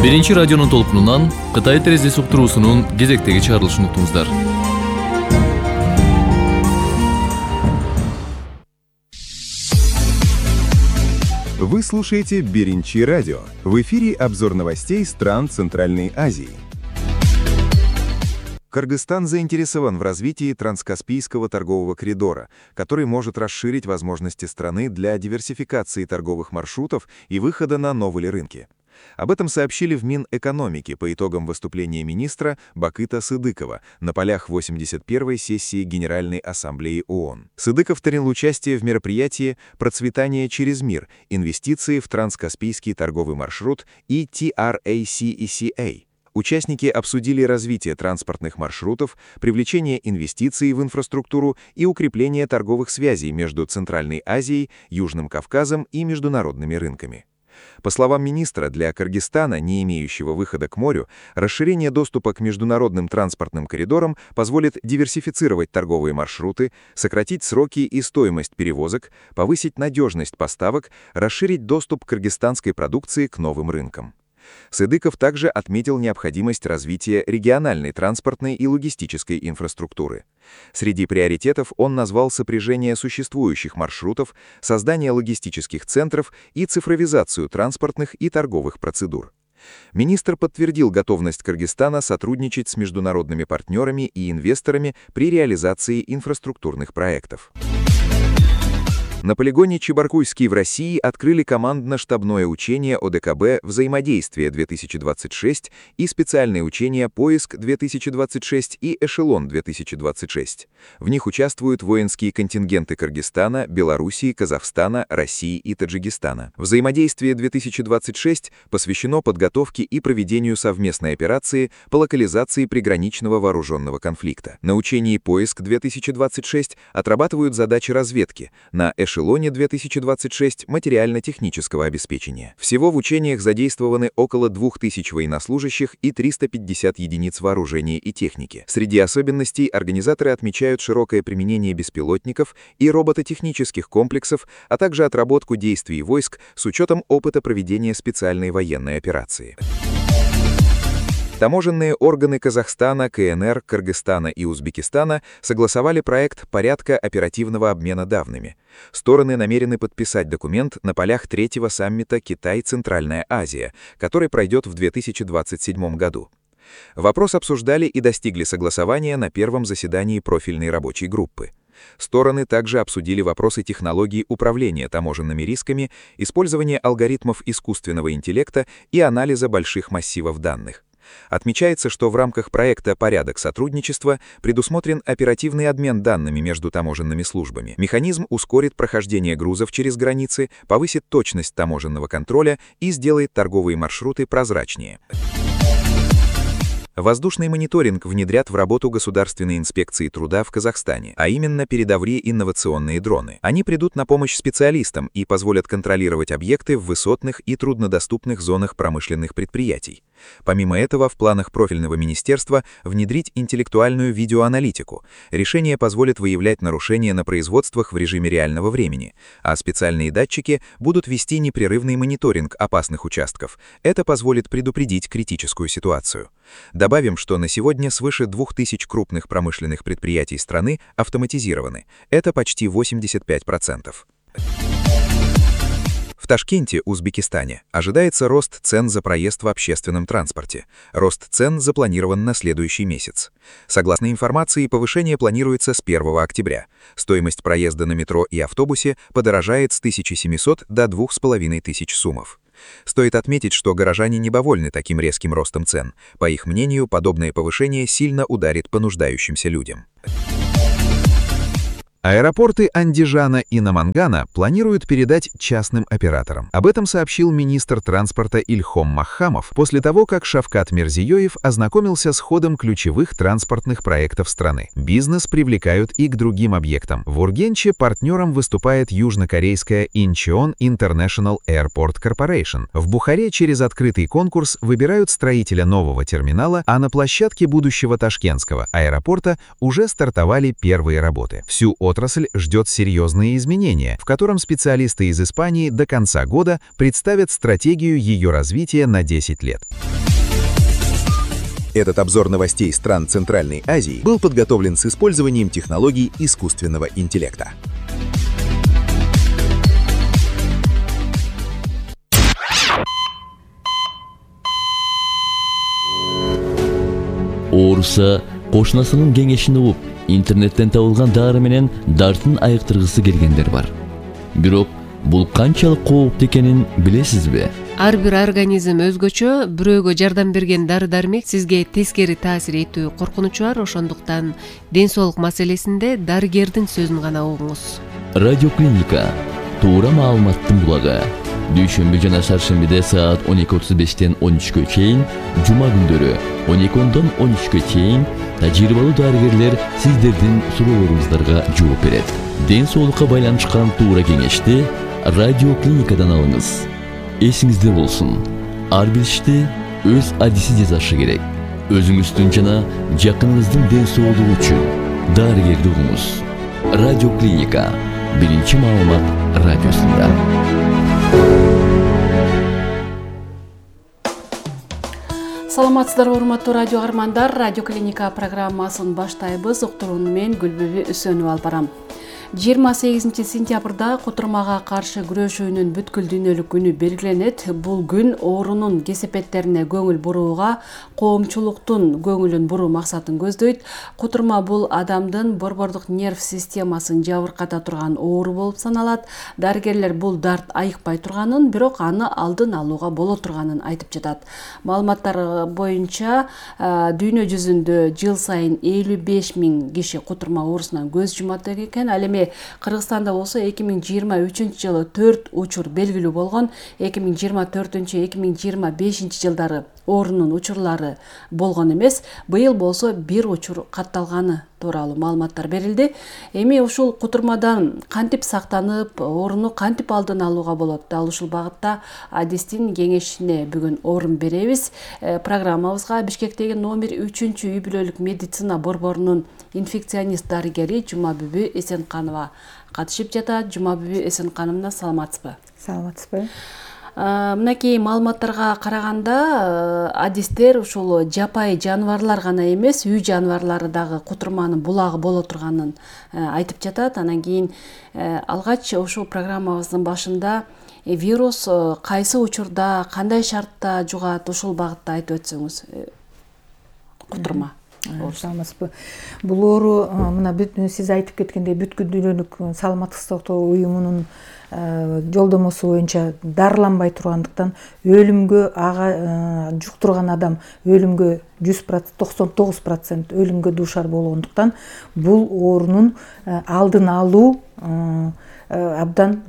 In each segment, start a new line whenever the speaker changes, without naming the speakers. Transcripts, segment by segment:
Биринчи радионун толкунунан Кытай терезеси уктуруусунун кезектеги чыгарылышын уктуңуздар.
Вы слушаете Биринчи радио. В эфире обзор новостей стран Центральной Азии. Кыргызстан заинтересован в развитии транскаспийского торгового коридора, который может расширить возможности страны для диверсификации торговых маршрутов и выхода на новые рынки. Об этом сообщили в Минэкономике по итогам выступления министра Бакыта Сыдыкова на полях 81-й сессии Генеральной Ассамблеи ООН. Сыдыков принял участие в мероприятии «Процветание через мир. Инвестиции в транскаспийский торговый маршрут» и TRACECA. Участники обсудили развитие транспортных маршрутов, привлечение инвестиций в инфраструктуру и укрепление торговых связей между Центральной Азией, Южным Кавказом и международными рынками. По словам министра, для Кыргызстана, не имеющего выхода к морю, расширение доступа к международным транспортным коридорам позволит диверсифицировать торговые маршруты, сократить сроки и стоимость перевозок, повысить надежность поставок, расширить доступ кыргызстанской продукции к новым рынкам. Сыдыков также отметил необходимость развития региональной транспортной и логистической инфраструктуры. Среди приоритетов он назвал сопряжение существующих маршрутов, создание логистических центров и цифровизацию транспортных и торговых процедур. Министр подтвердил готовность Кыргызстана сотрудничать с международными партнерами и инвесторами при реализации инфраструктурных проектов. На полигоне Чебаркульский в России открыли командно-штабное учение ОДКБ «Взаимодействие-2026» и специальные учения «Поиск-2026» и «Эшелон-2026». В них участвуют воинские контингенты Кыргызстана, Белоруссии, Казахстана, России и Таджикистана. «Взаимодействие-2026» посвящено подготовке и проведению совместной операции по локализации приграничного вооруженного конфликта. На учении «Поиск-2026» отрабатывают задачи разведки, на «Эшелоне-2026» материально-технического обеспечения. Всего в учениях задействованы около 2000 военнослужащих и 350 единиц вооружения и техники. Среди особенностей организаторы отмечают широкое применение беспилотников и робототехнических комплексов, а также отработку действий войск с учетом опыта проведения специальной военной операции. Таможенные органы Казахстана, КНР, Кыргызстана и Узбекистана согласовали проект порядка оперативного обмена данными. Стороны намерены подписать документ на полях третьего саммита Китай-Центральная Азия, который пройдет в 2027 году. Вопрос обсуждали и достигли согласования на первом заседании профильной рабочей группы. Стороны также обсудили вопросы технологий управления таможенными рисками, использования алгоритмов искусственного интеллекта и анализа больших массивов данных. Отмечается, что в рамках проекта «Порядок сотрудничества» предусмотрен оперативный обмен данными между таможенными службами. Механизм ускорит прохождение грузов через границы, повысит точность таможенного контроля и сделает торговые маршруты прозрачнее. Воздушный мониторинг внедрят в работу Государственной инспекции труда в Казахстане, а именно передовые инновационные дроны. Они придут на помощь специалистам и позволят контролировать объекты в высотных и труднодоступных зонах промышленных предприятий. Помимо этого, в планах профильного министерства внедрить интеллектуальную видеоаналитику. Решение позволит выявлять нарушения на производствах в режиме реального времени, а специальные датчики будут вести непрерывный мониторинг опасных участков. Это позволит предупредить критическую ситуацию. Добавим, что на сегодня свыше 2000 крупных промышленных предприятий страны автоматизированы. Это почти 85%. В Ташкенте, Узбекистане, ожидается рост цен за проезд в общественном транспорте. Рост цен запланирован на следующий месяц. Согласно информации, повышение планируется с 1 октября. Стоимость проезда на метро и автобусе подорожает с 1700 до 2500 сумов. Стоит отметить, что горожане недовольны таким резким ростом цен. По их мнению, подобное повышение сильно ударит по нуждающимся людям. Аэропорты Андижана и Намангана планируют передать частным операторам. Об этом сообщил министр транспорта Ильхом Махамов после того, как Шавкат Мирзиёев ознакомился с ходом ключевых транспортных проектов страны. Бизнес привлекают и к другим объектам. В Ургенче партнером выступает южнокорейская Incheon International Airport Corporation. В Бухаре через открытый конкурс выбирают строителя нового терминала, а на площадке будущего ташкентского аэропорта уже стартовали первые работы. Всю отрасль ждет серьезные изменения, в котором специалисты из Испании до конца года представят стратегию ее развития на 10 лет.
Этот обзор новостей стран Центральной Азии был подготовлен с использованием технологий искусственного интеллекта.
Ооруса кошунасынын кеңешин угуп, интернеттен табылган дары менен дартын айыктыргысы келгендер бар. Бирок бул канчалык кооптуу экенин билесизби?
Ар бир организм өзгөчө, бирөөгө жардам берген дары-дармек сизге тескери таасир этүү коркунучу бар, ошондуктан ден соолук маселесинде дарыгердин сөзүн гана угуңуз.
Радиоклиника туура маалыматтын булагы. Дүйшөмбү жана шаршембиде саат 12:35 13-кө чейин, жума күндөрү 12-дон 13-кө чейин тажрыйбалуу дарыгерлер сиздердин суроолоруңуздарга жооп берет. Ден соолукка байланышкан туура кеңешти радиоклиникадан алыңыз. Эсиңизде болсун, ар бир ишти өз адиси жасашы керек. Өзүңүздүн жана жакыныңыздын ден соолугу үчүн дарыгерди угуңуз. Радиоклиника, биринчи маалымат радиосунда.
Саламатсыздарбы, урматтуу радио каармандар. Радиоклиника программасын баштайбыз. Уктурууну мен Гүлбүбү Үсөнүп алып барам. 28 сентябрда кутурмага каршы күрөшүүнүн бүткүл дүйнөлүк күнү белгиленет. Бул күн оорунун кесепеттерине көңүл бурууга, коомчулуктун көңүлүн буруу максатын көздөйт. Кутурма бул адамдын борбордук нерв системасын жабырката турган оору болуп саналат. Дарыгерлер бул дарт айыкпай турганын, бирок аны алдын алууга боло турганын айтып жатат. Маалыматтар боюнча дүйнө жүзүндө жыл сайын 55 000 киши кутурма оорусунан көз жумат экен. Ал эми Кыргызстанда болсо 2023-жылы 4 учур белгилүү болгон. 2024-2025 жылдары оорунун учурлары болгон эмес. Быйыл болсо 1 учур катталганы тууралуу маалыматтар берилди. Эми ушул кутурмадан кантип сактанып, ооруну кантип алдын алууга болот? Дал ушул багытта адистин кеңешине бүгүн орун беребиз. Программабызга Бишкектеги номер 3 үй бүлөлүк медицина борборунун инфекционист дарыгери Жумабүбү Эсенканова катышып жатат. Жумабүбү Эсенкановна, саламатсызбы?
Саламатсызбы.
Мынакей маалыматтарга караганда адистер ушул жапайы жаныбарлар гана эмес, үй жаныбарлары дагы кутурманын булагы боло турганын айтып жатат. Анан кийин алгач ушул программабыздын башында вирус кайсы учурда, кандай шартта жугат, ушул багытта айтып өтсөңүз. Кутурма.
Саламатсызбы. Бул оору мына сиз айтып кеткендей бүткүл дүйнөлүк саламаттык сактоо уюмунун жолдомосу боюнча дарыланбай тургандыктан өлүмгө жуктурган адам өлүмгө 99% өлүмгө дуушар болгондуктан бул оорунун алдын алуу абдан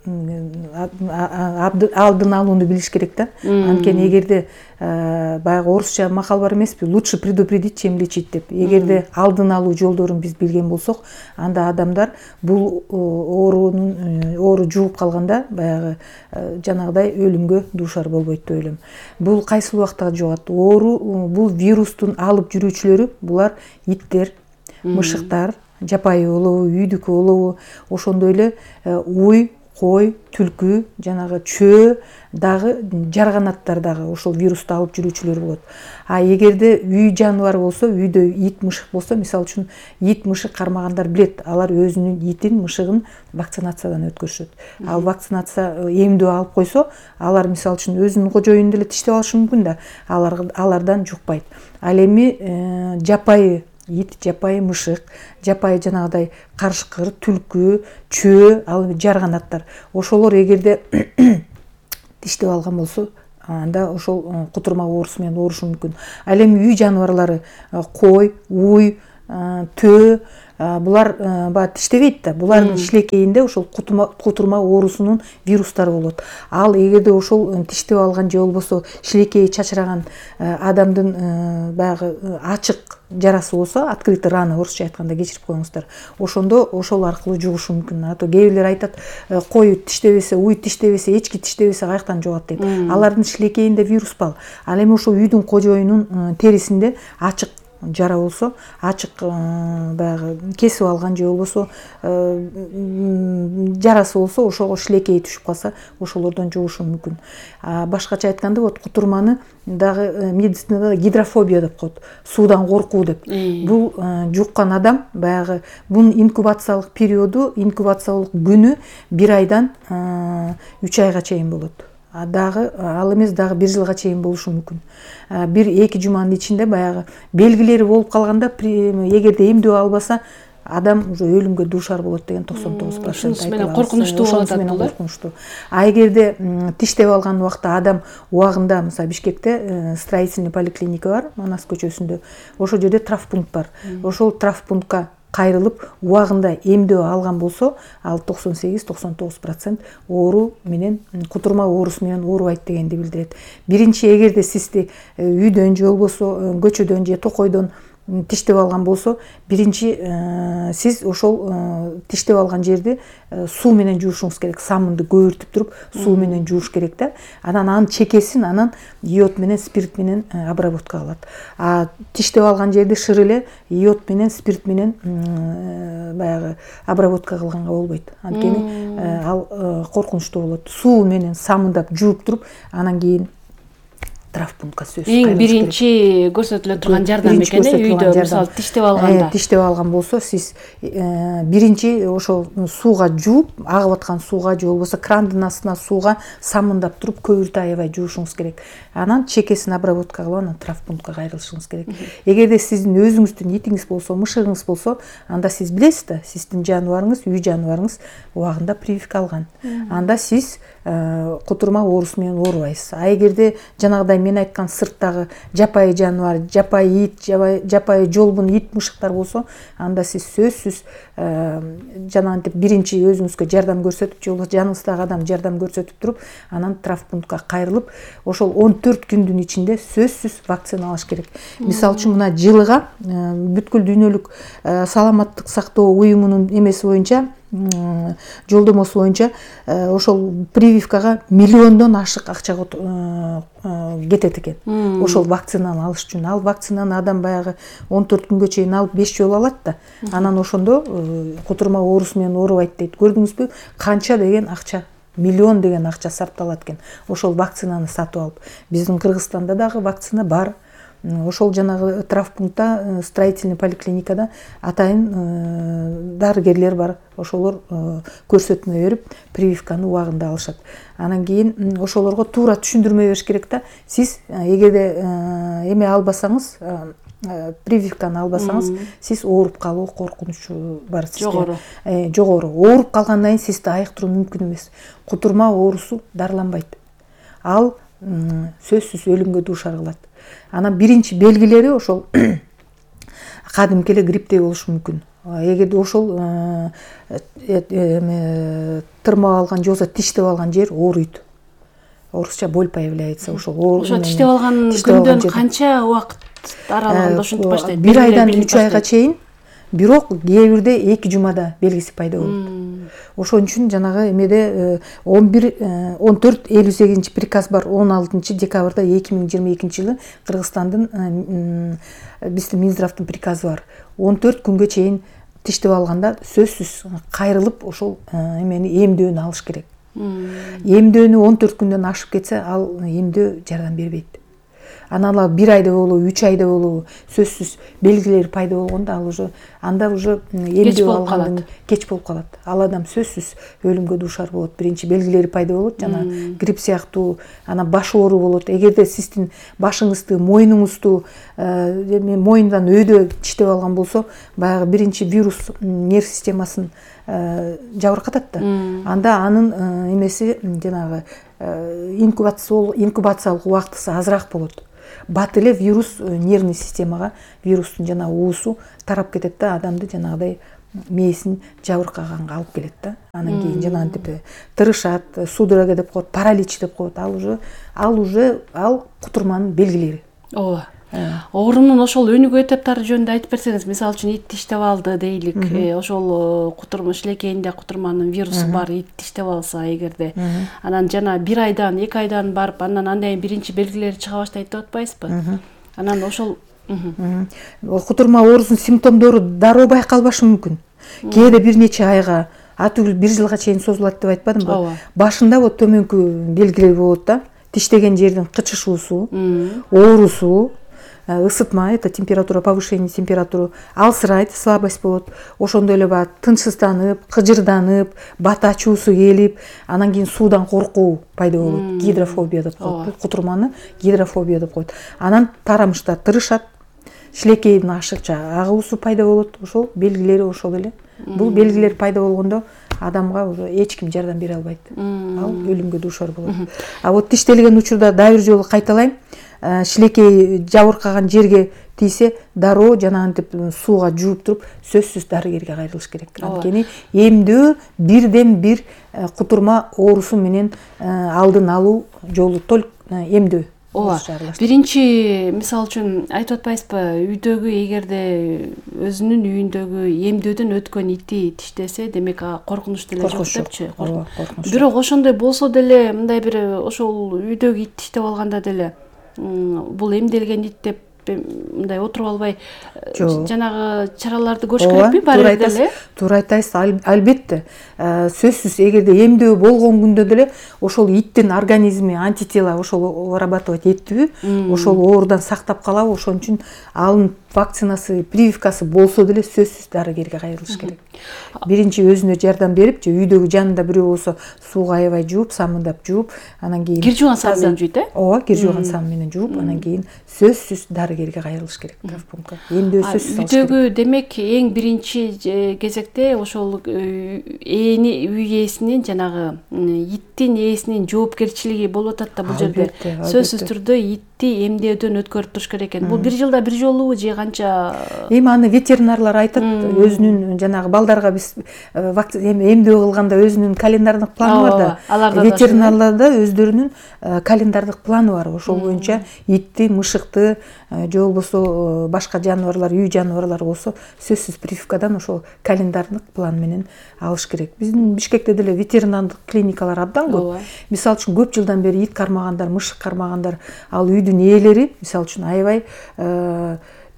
алдын алууну билиш керек да. Анткени эгерде баягы орусча макал бар эмеспи, лучше предупредить, чем лечить деп. Эгерде алдын алуу жолдорун биз билген болсок, анда адамдар бул оору жугуп калганда баягы жанагыдай өлүмгө дуушар болбойт деп ойлойм. Бул кайсы убакта жугат? Оору бул вирустун алып жүрүүчүлөрү, булар иттер, мышыктар, жапайы олобу, үйдүкү олобу, ошондой эле уй, кой, түлкү, жанагы чөө дагы, жарганаттар дагы ошол вирусту алып жүрүүчүлөр болот. А эгерде үй жаныбар болсо, үйдө ит, мышык болсо, мисалы үчүн ит, мышык кармагандар билет, алар өзүнүн итин, мышыгын вакцинациядан өткөрүшөт. Ал вакцинация эмдөө алып койсо, алар мисалы үчүн өзүнүн кожоюнун деле тиштеп алышы мүмкүн да, алардан жукпайт. Ал эми жапайы ит, жапайы мышык, жапайы жанагыдай карышкыр, түлкү, чөө, ал жарганаттар. Ошолор эгерде тиштеп алган болсо, анда ошол кутурма оорусу менен оорушу мүмкүн. Ал эми үй жаныбарлары кой, уй, төө, булар баягы тиштебейт да. Булардын шилекейинде ошол кутурма оорусунун вирустары болот. Ал эгерде ошол тиштеп алган же болбосо шилекейи чачыраган адамдын баягы ачык жарасы болсо, открытый рана, орусча айтканда, кечирип коюңуздар. Ошондо ошол аркылуу жугушу мүмкүн. А то кээ бирлер айтат, кой тиштебесе, уй тиштебесе, эчки тиштебесе каяктан жугат деп. Алардын шилекейинде вирус бар. Ал эми ошол үйдүн кожоюнун терисинде ачык жара болсо, ачык баягы кесип алган же болбосо жарасы болсо, ошого шилекейи түшүп калса, ошолордон жугушу мүмкүн. Башкача айтканда, вот кутурманы дагы медицинада гидрофобия деп коет, суудан коркуу деп. Бул жуккан адам баягы бунун инкубациялык периоду, инкубациялык күнү 1 айдан 3 айга чейин болот. Дагы ал эмес, дагы 1 жылга чейин болушу мүмкүн. 1-2 жуманын ичинде баягы белгилери болуп калганда, эгерде эмдөө албаса, адам уже өлүмгө дуушар болот деген 99%
ушунусу менен коркунучтуу болот бул.
Коркунучтуу. Эгерде тиштеп алган убакта адам убагында, мисалы Бишкекте строительный поликлиника бар, Манас көчөсүндө. Ошол жерде травмпункт бар. Ошол травмпунктка кайрылып убагында эмдөө алган болсо, ал 98-99% оору менен, кутурма оорусу менен оорубайт дегенди билдирет. Биринчи, эгерде сизди үйдөн же болбосо көчөдөн же токойдон тиштеп алган болсо, биринчи сиз ошол тиштеп алган жерди суу менен жуушуңуз керек. Самынды көбүртүп туруп, суу менен жууш керек да. Анан анын чекесин йод менен, спирт менен обработка кылат. Тиштеп алган жерди шыр эле йод менен, спирт менен баягы обработка кылганга болбойт. Анткени ал коркунучтуу болот. Суу менен самындап жууп туруп, анан кийин травмпунктка сөзсүз
эң биринчи көрсөтүлө турган жардам экен, үйдө мисалы тиштеп алганда.
Тиштеп алган болсо, сиз биринчи ошол сууга жууп, агып аткан сууга же болбосо крандын астына сууга самындап туруп көбүртө аябай жуушуңуз керек. Анан чекесин обработка кылып, анан травмпунктка кайрылышыңыз керек. Эгерде сиздин өзүңүздүн итиңиз болсо, мышыгыңыз болсо, анда сиз билесиз да, сиздин жаныбарыңыз, үй жаныбарыңыз убагында прививка алган. Анда сиз кутурма оорусу менен оорубайсыз. Эгерде жанагыдай мен айткан сырттагы жапайы жаныбар, жапайы ит, жапайы жолбун ит, мышыктар болсо, анда сиз сөзсүз жанагынтип биринчи өзүңүзгө жардам көрсөтүп, же болбосо жаныңыздагы адам жардам көрсөтүп туруп, анан травмпунктка кайрылып, ошол 14 күндүн ичинде сөзсүз вакцина алыш керек. Мисалы үчүн мына жылыга бүткүл дүйнөлүк саламаттык сактоо уюмунун эмеси боюнча, жолдомосу боюнча ошол прививкага миллиондон ашык акча кетет экен. Ошол вакцинаны алыш үчүн. Ал вакцинаны адам баягы 14 күнгө чейин алып 5 жолу алат да. Анан ошондо кутурма оорусу менен оорубайт дейт. Көрдүңүзбү, канча деген акча, миллион деген акча сарпталат экен. Ошол вакцинаны сатып алып. Биздин Кыргызстанда дагы вакцина бар. Ошол жанагы травмпунктта, строительный поликлиникада атайын дарыгерлер бар. Ошолор көрсөтмө берип, прививканы убагында алышат. Анан кийин ошолорго туура түшүндүрмө бериш керек да. Сиз эгерде эме албасаңыз, прививканы албасаңыз, сиз ооруп калуу коркунучу бар сизде. Жогору. Ооруп калгандан кийин сизди айыктыруу мүмкүн эмес. Кутурма оорусу дарыланбайт. Ал сөзсүз өлүмгө дуушар кылат. Анан биринчи белгилери ошол кадимки эле грипптей болушу мүмкүн. Эгерде ошол тырмап алган же болбосо тиштеп алган жер ооруйт. Орусча боль появляется. Ошол
тиштеп алган күндөн канча убакыт аралыгында ошентип баштайт?
1 айдан 3 айга чейин. Бирок кээ бирде 2 жумада белгиси пайда болот. Ошон үчүн жанагы эмеде 14-58 приказ бар. 16 декабрда 2022 жылы Кыргызстандын биздин Минздравдын приказы бар. 14 күнгө чейин тиштеп алганда сөзсүз кайрылып ошол эмени эмдөөнү алыш керек. Эмдөөнү 14 күндөн ашып кетсе, ал эмдөө жардам бербейт. Анан ал 1 айда болобу, 3 айда болобу, сөзсүз белгилери пайда болгондо ал уже эмдөө алгандан кеч болуп калат. Ал адам сөзсүз өлүмгө дуушар болот. Биринчи белгилери пайда болот, жана грипп сыяктуу, анан баш оору болот. Эгерде сиздин башыңызды, мойнуңузду, мойнундан өйдө тиштеп алган болсо, баягы биринчи вирус нерв системасын жабыркатат да. Анда анын эмеси жанагы инкубациялык убактысы азыраак болот. Бат эле вирус нервный системага, вирустун жана уусу тарап кетет да, адамды жанагыдай мээсин жабыркаганга алып келет да. Анан кийин жанагынтип тырышат, судорога деп коет, паралич деп коет. Ал кутурманын белгилери.
Ооба. Оорунун ошол өнүгүү этаптары жөнүндө айтып берсеңиз, мисалы үчүн ит тиштеп алды дейлик, ошол кутурма шилекейинде кутурманын вирусу бар, ит тиштеп алса эгерде, анан жана 1 айдан 2 айдан барып, андан андай биринчи белгилери чыга баштайт деп атпайсызбы? Анан ошол
Кутурма оорусунун симптомдору дароо байкалбашы мүмкүн. Кээде бир нече айга, атүгүл бир жылга чейин созулат деп айтпадымбы?
Ооба.
Башында вот төмөнкү белгилер болот да. Тиштеген жердин кычышуусу, оорусу, ысытма, это температура, повышение температуры, алсырайт, слабость болот. Ошондой эле баягы тынчсызданып, кыжырданып, бат ачуусу келип, анан кийин суудан коркуу пайда болот. Гидрофобия деп коет. Кутурманы гидрофобия деп коет. Анан тарамыштар тырышат, шилекейдин ашыкча агуусу пайда болот. Ошол белгилери ошол эле. Бул белгилер пайда болгондо адамга эч ким жардам бере албайт. Ал өлүмгө дуушар болот. А вот тиштелген учурда дагы бир жолу кайталайм. Шилекей жабыркаган жерге тийсе, дароо жанагынтип сууга жууп туруп, сөзсүз дарыгерге кайрылыш керек. Анткени эмдөө бирден бир кутурма оорусу менен алдын алуу жолу только эмдөө.
Ооба. Биринчи мисал үчүн айтып атпайсызбы, үйдөгү эгерде өзүнүн үйүндөгү эмдөөдөн өткөн ити тиштесе, демек коркунуч деле жок депчи. Бирок ошондой болсо деле, мындай бир ошол үйдөгү ит тиштеп алганда деле бул эмделген ит деп мындай отуруп албай жанагы чараларды көрүш керекпи? Баары деле.
Туура айтасыз, албетте. Сөзсүз эгерде эмдөө болгон күндө деле ошол иттин организми антитела ошол вырабатывать этпи, ошол оорудан сактап калабы, ошон үчүн анын вакцинасы, прививкасы болсо деле сөзсүз дарыгерге кайрылыш керек. Биринчи өзүнө жардам берип, же үйдөгү жанында бирөө болсо сууга аябай жууп, самындап жууп, анан кийин
кир жууган сам менен жууйт,
Ооба, кир жууган сам менен жууп, анан кийин сөзсүз дарыгерге кайрылыш керек. Травмпунктка. Эмдөө сөзсүз алыш керек.
Үйдөгү демек эң биринчи кезекте ошол үй ээсинин жанагы иттин ээсинин жоопкерчилиги болуп атат да бул жерде. Сөзсүз түрдө итти эмдөөдөн өткөрүп туруш керек экен. Бул бир жылда бир жолу же канча?
Эми аны ветеринарлар айтат, өзүнүн жанагы балдарга биз эмдөө кылганда өзүнүн календардык планы бар да. Ветеринарларда өздөрүнүн календардык планы бар. Ошол боюнча итти, мышыкты, же болбосо башка жаныбарлар, үй жаныбарлары болсо сөзсүз прививкадан ошол календардык план менен алыш керек. Биздин Бишкекте деле ветеринардык клиникалар абдан көп. Мисалы үчүн көп жылдан бери ит кармагандар, мышык кармагандар, ал үйдүн ээлери мисалы үчүн аябай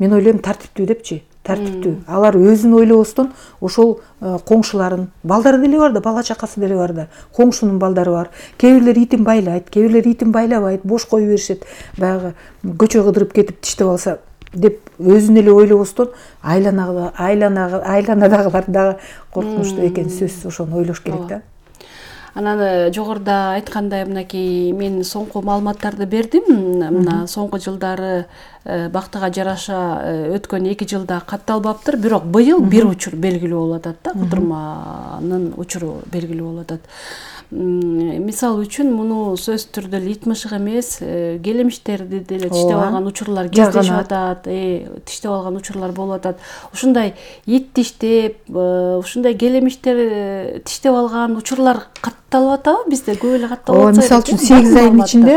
мен ойлойм тартиптүү депчи. Тартиптүү. Алар өзүн ойлобостон ошол коңшуларын, балдары деле бар да, бала чакасы деле бар да. Коңшунун балдары бар. Кээ бирлер итин байлайт, кээ бирлер итин байлабайт, бош коюп беришет. Баягы көчө кыдырып кетип тиштеп алса деп өзүн эле ойлобостон айланадагылар дагы коркунучтуу экен, сөзсүз ошону ойлош керек да.
Анан жогоруда айткандай, мынакей мен соңку маалыматтарды бердим. Мына соңку жылдары бактыга жараша өткөн 2 жылда катталбаптыр, бирок быйыл бир учур белгилүү болуп атат да, кутурманын учуру белгилүү болуп атат. Мисал үчүн муну сөз түрдө ит мышык эмес, келемиштерди деле тиштеп алган учурлар кездешип атат, тиштеп алган учурлар болуп атат. Ушундай ит тиштеп, ушундай келемиштер тиштеп алган учурлар катталып атабы бизде? Көп эле катталып атса.
Мисалы үчүн 8 айдын ичинде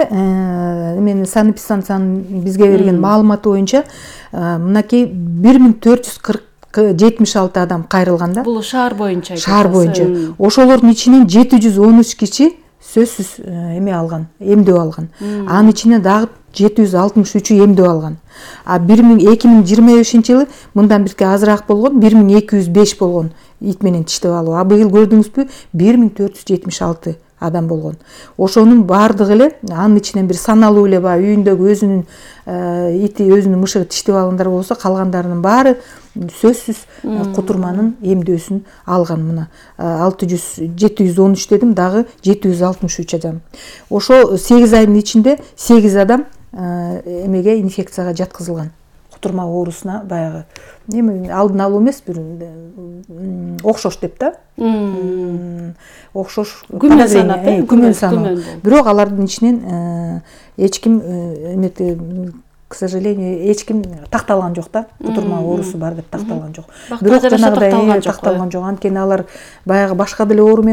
мен санэпидстанциянын бизге берген маалыматы боюнча мынакей 1476 адам кайрылган да.
Бул шаар боюнча.
Шаар боюнча. Ошолордун ичинен 713 киши сөзсүз эме алган, эмдөө алган. Анын ичинен дагы 763 эмдөө алган. А 2025-жылы мындан бирке азыраак болгон, 1205 болгон ит менен тиштеп алуу. А быйыл көрдүңүзбү 1476 адам болгон. Ошонун баардыгы эле анын ичинен бир саналуу эле баягы үйүндөгү өзүнүн ити, өзүнүн мышыгы тиштеп алгандар болсо, калгандарынын баары сөзсүз кутурманын эмдөөсүн алган. Мына 713 дедим, дагы 763 адам. Ошо 8 айдын ичинде 8 адам эмеге инфекцияга жаткызылган. Кутурма оорусуна баягы эми алдын алуу эмес, бир окшош деп да. Окшош
күмөн санап,
күмөн саноо. Бирок алардын ичинен эч ким эмети, к сожалению, эч ким такталган жок да. Кутурма оорусу бар деп такталган жок. Бирок жанагыдай такталган жок. Анткени алар баягы башка деле оору